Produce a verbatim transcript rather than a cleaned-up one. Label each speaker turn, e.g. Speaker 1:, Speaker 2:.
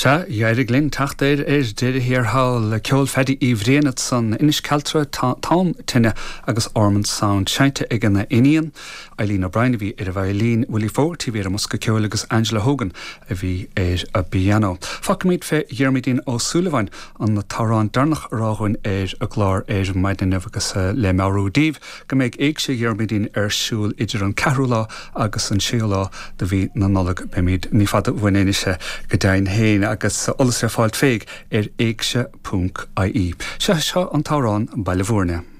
Speaker 1: Sea, d'éirigh linn teacht air ar deireadh thiar thall ceol Phaddy Uí Bhriain san Inis Cealtra Tom Tine agus Ormond Sound seinnte ag a iníon, Eileen O'Brien a bhí ar an veidhlín, Willie Fogarty bhí ar an mbosca ceoil agus Angela Hogan a bhí ar an bpianó. Fágfaimid fé Dhiarmuidín Ó Súilleabháin an t-amhrán deireanach a rá dhúinn ar an gclár ar maidin agus le meabhrú daoibh go mbeidh Éigse Dhiarmuidín ar siúl idir an ceathrú lá agus an séú lá de mhí na Nollag beimid ní fada uainn anois go deimhin féin agus eolas ar fáil féig ar éigse.ie. Se seo an t-amhrán Baile Bhúirne.